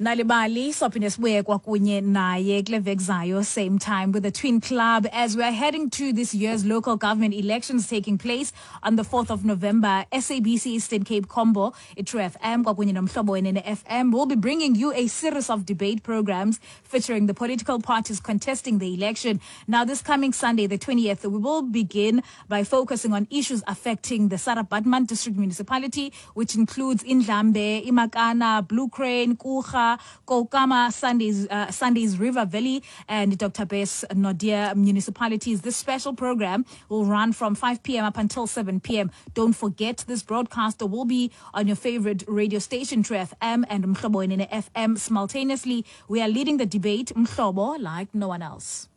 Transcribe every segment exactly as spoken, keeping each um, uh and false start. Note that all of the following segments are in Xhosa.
Nalibali sophinde sibuye kwakunye naye kule veki zayo, same time, with the Twin Club. As we are heading to this year's local government elections taking place on the fourth of November, S A B C Eastern Cape Combo, iTrue F M kwakunye noMhlobo Wenene F M will be bringing you a series of debate programs featuring the political parties contesting the election. Now, this coming Sunday, the twentieth, we will begin by focusing on issues affecting the Sarah Baartman District Municipality, which includes Ndlambe, iMakana, Blue Crane, Coega, Koukamma, Sundays, uh, Sundays River Valley, and Doctor Bess Naude municipalities. This special program will run from five p m up until seven p m. Don't forget, this broadcast will be on your favorite radio station, True F M and Mhlobo Wenene F M simultaneously. We are leading the debate, Mhlobo, like no one else.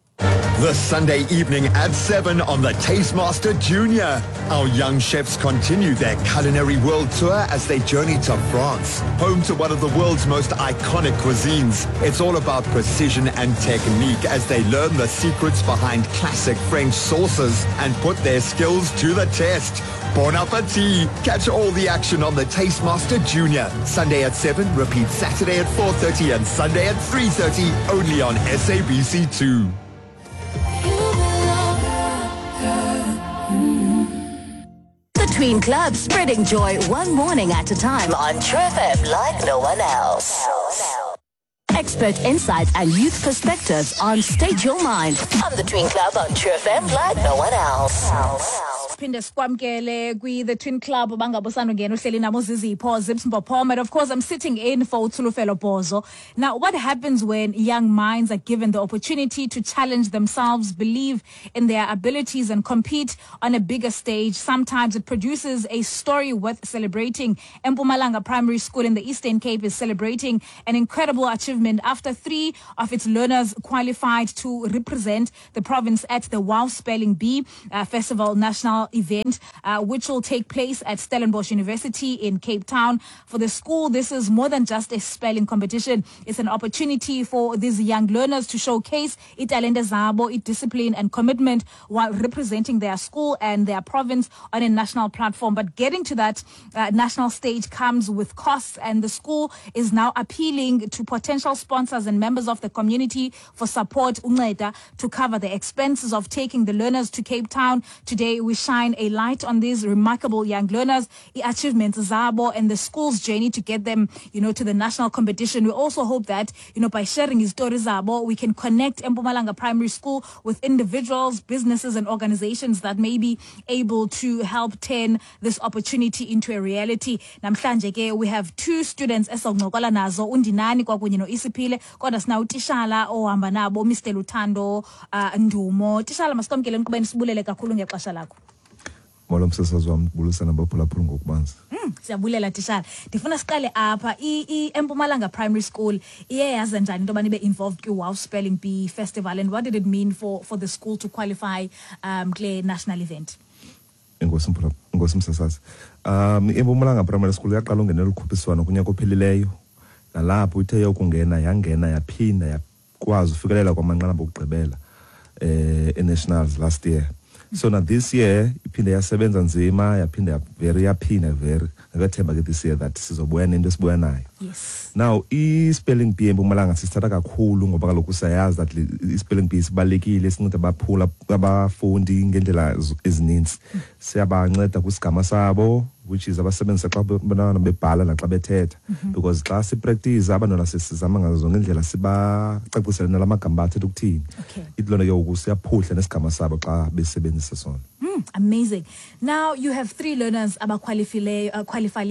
This Sunday evening at seven on the Taste Master Junior. Our young chefs continue their culinary world tour as they journey to France, home to one of the world's most iconic cuisines. It's all about precision and technique as they learn the secrets behind classic French sauces and put their skills to the test. Bon appetit! Catch all the action on the Taste Master Junior. Sunday at seven, repeat Saturday at four thirty and Sunday at three thirty, only on S A B C two. The Tween Club, spreading joy one morning at a time on True F M like no one else. Expert insights and youth perspectives on State Your Mind on the Tween Club on True F M like no one else. Phinde sikwamkele kwi-The Twin Club. Bangabosandungena uhleli nabo Zizipho Zips Mpophoma, and of course I'm sitting in for uThulufelo Bozo. Now, what happens when young minds are given the opportunity to challenge themselves, believe in their abilities and compete on a bigger stage? Sometimes it produces a story worth celebrating. Empumalanga Primary School in the Eastern Cape is celebrating an incredible achievement after three of its learners qualified to represent the province at the WOW Spelling Bee uh, Festival National event, uh, which will take place at Stellenbosch University in Cape Town. For the school, this is more than just a spelling competition. It's an opportunity for these young learners to showcase italente zabo, discipline and commitment while representing their school and their province on a national platform. But getting to that uh, national stage comes with costs, and the school is now appealing to potential sponsors and members of the community for support, unceda, to cover the expenses of taking the learners to Cape Town. Today, we shine a light on these remarkable young learners, the achievements zabo, and the school's journey to get them, you know, to the national competition. We also hope that, you know, by sharing stories zabo, we can connect Mpumalanga Primary School with individuals, businesses, and organizations that may be able to help turn this opportunity into a reality. Namhlanje ke we have two students esoncokola nazo, uNdinani kwakunye noIsiphile, kodwa sinawo utishala ohamba nabo, Mister Luthando uh, Ndumo. Tishala, masikwamkele enkqubeni, sibulele kakhulu ngexesha lakho. Molo, msasazi wam, ndibulisa nabaphulaphuli ngokubanzi. Mm, siyabulela tishala. Ndifuna siqale apha. I-Empumalanga Primary School iye yaze njani into yobana ibe involved kwi-WOW Spelling Bee Festival, and what did it mean for, for the school to qualify um, kule national event? Enkosi, mphula, enkosi msasazi. Um iMpumalanga Primary School yaqala ungenela ukhuphiswano kunyaka ophelileyo. Nalapho ithe yokungena yangena, yaphinda yakwazi ufikelela kwamanqanaba okugqibela eh e-nationals last year. So now this year iphinde yasebenza nzima, yaphinda very, yaphinda very. Ngethemba ke this year that sizobuya nento esibuya nayo. Yes. Now, i-spelling bee eMpumalanga sisithatha kakhulu ngoba kaloku siyayazi that le- i-spelling bee sibalulekile, sinceda abaphula abafundi ngendlela ezininzi. Siyabanceda kwisigama sabo, which is abasebenzisa xa abantwana bebhala naxa bethetha, because xa sipractice abantwana sisizama ngazo zonke indlela sibacacisele nala magama athetha ukuthini. Okay. Ithi loo nto ke ngoku siyaphuhla nesigama sabo xa besebenzisa sona. Mm, amazing. Now you have three learners abaqualifile, uh, qualify,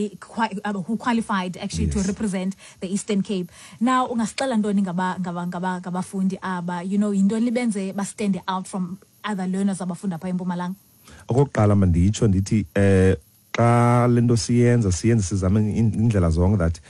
uh, who qualified actually to Yes. represent the Eastern Cape. Now ungasixela ntoni ngaba ngaba ngaba ngabafundi aba, you know, yintoni libenze ba stand out from other learners abafunda pha eMpumalanga? Okokuqala manditsho ndithi eh xa le nto siyenza, siyenze sizame in- indlela zonke that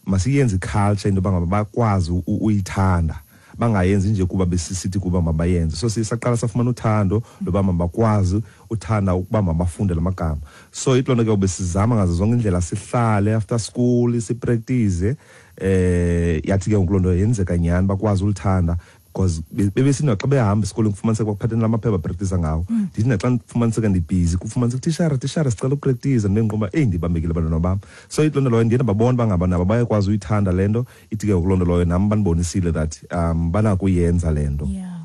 masiyenze iculture, into yoba ngaba bakwazi u- uyithanda, bangayenzi nje kuba besisithi kuba mabayenze. So sisaqala safumana uthando loba mabakwazi uthanda ukuba mabafunde la magama. So ithi loo nto ke besizama ngazo zonke indlela sihlale after school sipractice. eh yathi ke ngoku loo nto yenzeka nyhani, bakwazi ulithanda because Because bebesina xa behamba esikolweni kufumaniseka bakuphatheni lamaphepha practice ngawo. Ndithi naxa ndifumaniseka ndibhizi kufumaniseka tishara tishara sicela upractice ndibe ngiqomba eyi ndibambekile abantwana bam. So ithi loo nto leyo ndiye ndababona uba ngaba nabo bayakwazi uyithanda le nto, ithi ke ngoku loo nto leyo nam bandibonisile that um banakuyenza le nto. Yeah.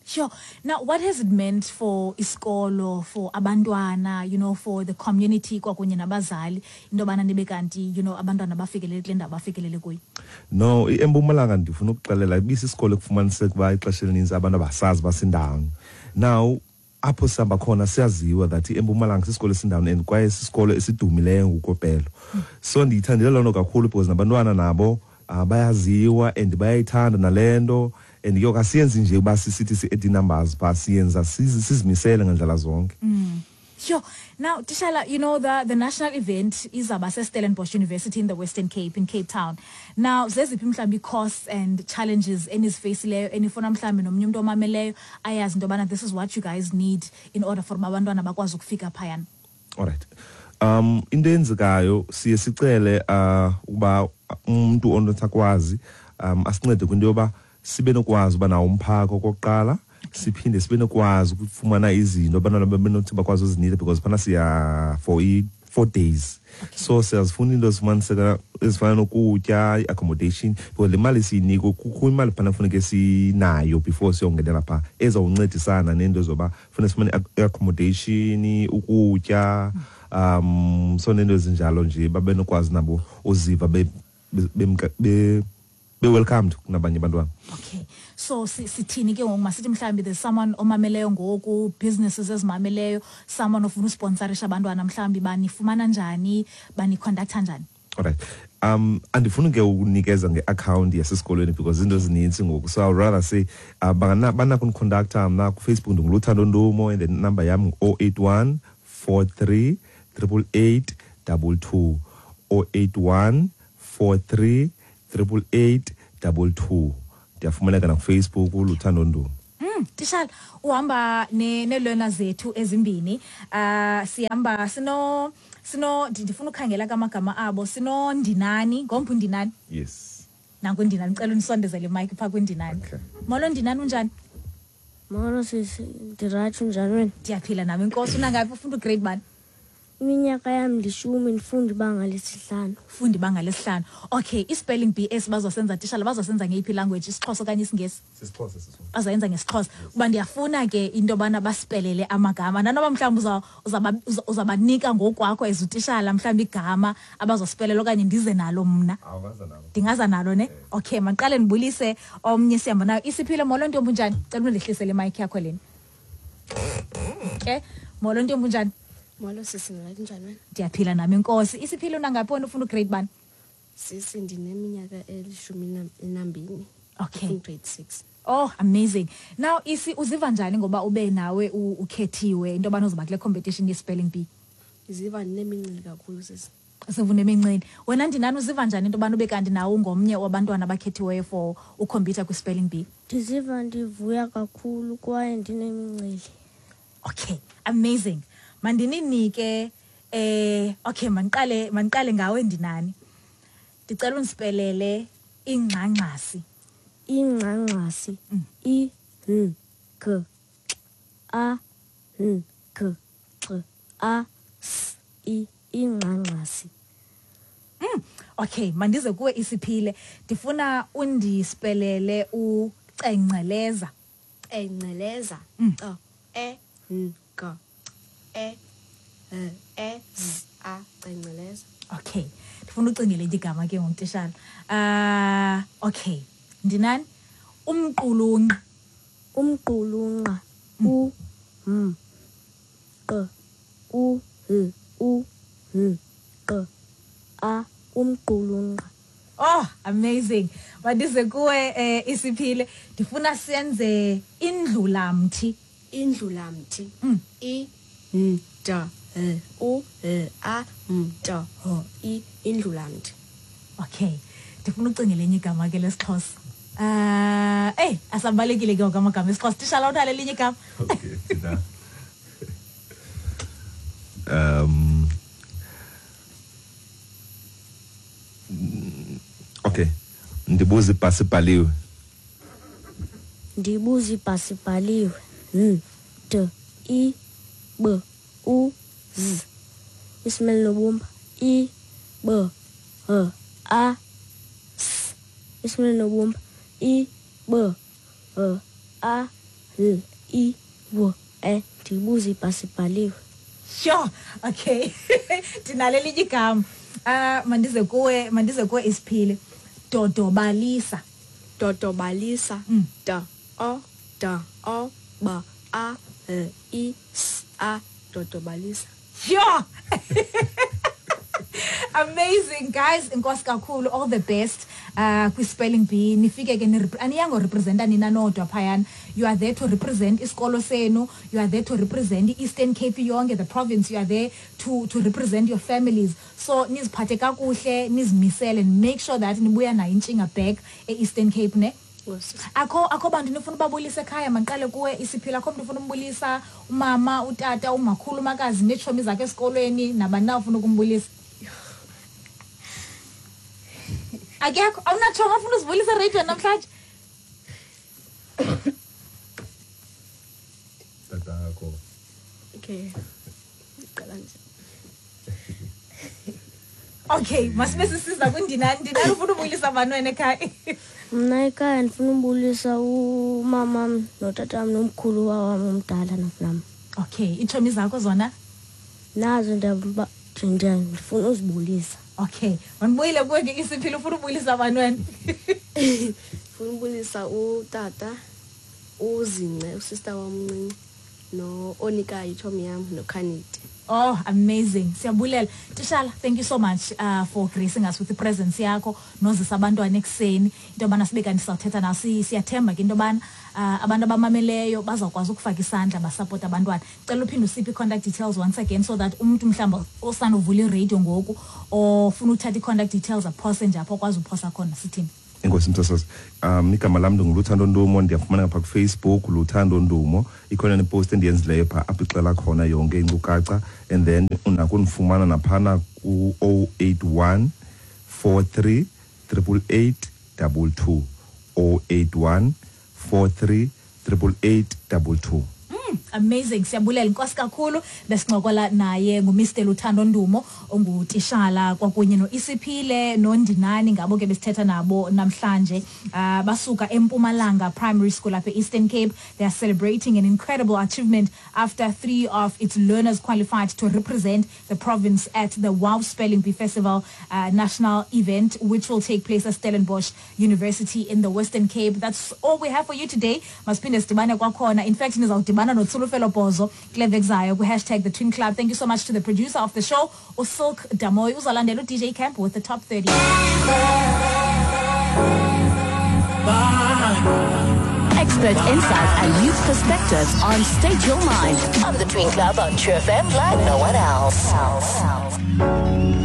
Sure. Now, what has it meant for isikolo, for abantwana, you know, for the community kwakunye nabazali, into yobana nibe kanti, you know, abantwana bafikelele kule ndawo bafikelele kuyo? No, eMpumalanga ndifuna ukuxelela ibisisikolo ekufumaniseka uba ixesha elininzi abantu abasazi basindawoni. Now, apho sihamba khona siyaziwa that eMpumalanga sisikolo esindawoni and kwaye sisikolo esidumileyo ngokopelo. So ndiyithandile loo nto kakhulu because nabantwana nabo uh, bayaziwa and bayayithanda nale nto. And ke asiyenzi nje uba sisithi si-add numbers phaa, siyenza sizimisele ngandlela zonke. Mm. Sure. Now, Tishala, you know, the, the national event is about Stellenbosch University in the Western Cape, in Cape Town. Now, zeziphi mhlawumbi costs and challenges enizifeyisileyo enifuna mhlawumbi nomnye umntu omameleyo ayazi into yobana this is what you guys need in order for abantwana bakwazi ukufika phayana? All right. Um, into eyenzekayo siye sicele uh, ukuba umntu onothi akwazi um, asincede kwinto yoba sibe nokwazi uba nawo umphako okokuqala, siphinde sibe nokwazi ukufumana izinto abantwana benothi bakwazi uzinida because phana siya for i four days. Okay. So siyazifuna into ezifumaniseka ezifana nokutya, i-accommodation, because le mali siyinikwe kukho imali phana funeke sinayo before siyongenela phaa ezawuncedisana neento zoba funeka sifumane i-accommodation, ukutya, um so neento ezinjalo nje babe nokwazi nabo uziva be be, be be-welcomed kunabanye abantwana. Okay. So sithini ke ngoku masithi mhlawumbi there's someone omameleyo ngoku, businesses ezimameleyo, someone ofuna usponsorisha abantwana mhlawumbi banifumana njani, baniconducta njani? All right. Um andifuni ke ukunikeza nge-account yasesikolweni because izinto ezininzi ngoku. So I'd rather say uh, banakundiconducta mna kuFacebook ndinguLuthando Ndumo and the number yam ngu-oh eight one four three triple eight double two. oh eight one four three triple eight double two. Ndiyafumaneka nakuFacebook uLuthando Ndumo. Mm, Tishala, uhamba ne ne-learner zethu ezimbini. Uh, sihamba sino sino ndifuna ukhangela kamagama abo, sino Ndinani, ngomphi Ndinani? Yes. Nanku Ndinani, ngicela unisondezele imic pha kuNdinani. Okay. Molo Ndinani, unjani? Molo sisi, ndirayithi, unjani wena? Ndiyaphila nami inkosi. Unangaphi, ufunda ugrade bani? Iminyaka yam lishumi, ndifunda ibanga lesihlanu. Ufunda ibanga lesihlanu. Okay, i-spelling bee esibazosenza tishala bazosenza ngeyiphi language, isiXhosa okanye isiNgesi? Sisixhosa sisixhosa. Bazoyenza ngesiXhosa. Kuba ndiyafuna ke into yobana basipelele amagama. Nanoba mhlawumbi uza uzabanika ngokwakho as utishala mhlawumbi igama abazosipelela okanye ndize nalo mna. Awungaza nalo. Ndingaza nalo ne? Okay, mandiqale ndibulise omnye sihamba nayo. Isiphile, molo ntombi, unjani? Cela undehlisele imic yakho lena. Okay, molo ntombi, unjani? Molo sisi, ndirayithi, njani wena? Ndiyaphila nami inkosi. Isiphile, unangaphi wena, ufunda ugrade bani? Sisi, ndineminyaka elishumi nambini. Okay. Ufunda grade six. Oh, amazing. Now Isi, uziva njani ngoba ube nawe ukhethiwe into yobana uzoba kule competition ye-spelling bee? Ndiziva ndinemincili kakhulu sisi. Uziva unemincili. Wena Ndinani, uziva njani into yobana ube kanti nawe ungomnye wabantwana abakhethiweyo for ukhompyutha kwi-spelling bee? Ndiziva ndivuya kakhulu kwaye ndinemincili. Okay, amazing. Mandininike eh okay, mandiqale mandiqale ngawe Ndinani. Ndicela undisipelele ingxangxasi. Ingxangxasi. I N K A N K X A S I, ingxangxasi. Mm, okay, mandize kuwe Isiphile. Ndifuna undisipelele ucengceleza. Cengceleza. Mm. C E N K E L E Z A, cengceleza. Okay. Ndifuna ucingele igama ke ngokutishala. Ah, uh, okay. Ndinani? Umqulunqa. Umqulunqa. U M Q U L U N Q A, umqulunqa. Oh, amazing. Mandize kuwe eh, Isiphile. Ndifuna senze indlulamthi. Indlulamthi. Mm. I N D L U L A M D H I, indlulamthi. Okay. Ndifuna ucingele enye igama ke lesiXhosa. Ah, uh, eh, asambalekile ke amagama esiXhosa. Tishala, unalo elinye igama? Okay, thina. Um Okay. Ndibuza ibhasi ibhaliwe. Ndibuza ibhasi ibhaliwe. N D I B U Z. Isimele nobumba I B H A S. Isimele nobumba I B H A L I W E. Ndibuza ibhasi ibhaliwe. Sure, okay. Ndinalelinye igama. Ah, mandize kuwe, mandize kuwe Isiphile. Dodobalisa. Dodobalisa. Mm. D O D O B A L I S A. Dodobalisa. Sure. Amazing, guys. Enkosi kakhulu, all the best uh kwi-spelling bee. Nifike ke aniyango representa nina nodwa phayana. You are there to represent isikolo senu. You are there to represent i-Eastern Cape yonke, the province. You are there to to represent your families. So niziphathe kakuhle, nizimisele and make sure that nibuya nayo intshinga back e-Eastern Cape, ne? Akho akho bantu nifuna ubabulisa ekhaya? Mandiqale kuwe Isiphila. Akho mntu ufuna umbulisa? Umama, utata, umakhulu, umakazi, neetshomi zakhe esikolweni, nabani na ufuna ukumbulisa? Akekho? Awunatshomi ofuna uzibulisa ereyidweni namhlanje? Tatakho. Okay. Qala nje. Okay, masibe sisiza kuNdinani. Ndinani, ufuna ubulisa bani wena ekhaya? Mna ekhaya ndifuna ubulisa umamam notatam nomkhulu wam omdala nam. Okay, iitshomi zakho zona? Nazo ndiyaba ndifuna uzibulisa. Okay, mandibuyile kuwe ke Isiphile, ufuna ubulisa bani wena? Ndifuna ubulisa utata, uZince, usister wam omncinci, no-Onika itshomi yam, noKhanidi. Oh, amazing. Siyabulela. Tishala, thank you so much uh, for gracing us with the presence yakho nozisa abantwana ekuseni. Into yobana sibe kanti sizawuthetha nawo, siyathemba ke into yobana uh, abantu abamameleyo bazawukwazi ukufaka isandla basapota abantwana. Cela uphinde usiphe i-contact details once again so that umntu mhlawumbi osanduvula iradio ngoku ofuna uthatha i-contact details aphose nje apho akwazi uphosa khona, sithini? Enkosi msasazi. Um igama lam ndinguLuthando Ndumo, ndiyafumaneka phaa kuFacebook, Luthando Ndumo. Ikhona nepost endiyenzileyo phaa apho ixela khona yonke inkcukacha, and then unakundifumana naphana ku-oh eight one four three triple eight double two, oh eight one four three triple eight double two. Mm, amazing. Siyabulela, inkosi kakhulu. Besincokola naye nguMister Luthando Ndumo ongutishala kwakunye noIsiphile noNdinani, ngabo ke besithetha nabo namhlanje. Uh, basuka eMpumalanga Primary School apha e-Eastern Cape. They are celebrating an incredible achievement after three of its learners qualified to represent the province at the WOW Spelling Bee Festival uh, national event, which will take place at Stellenbosch University in the Western Cape. That's all we have for you today. Masiphinde sidibane kwakhona. In fact, nizawudibana noTsulufelo Bozo kule veki zayo kwi-hashtag The Twin Club. Thank you so much to the producer of the show, uSilk Damoy. Uzalandela u-D J Camp with the Top thirty. Expert insights and youth perspectives on State Your Mind on The Twin Club on True F M like no one else.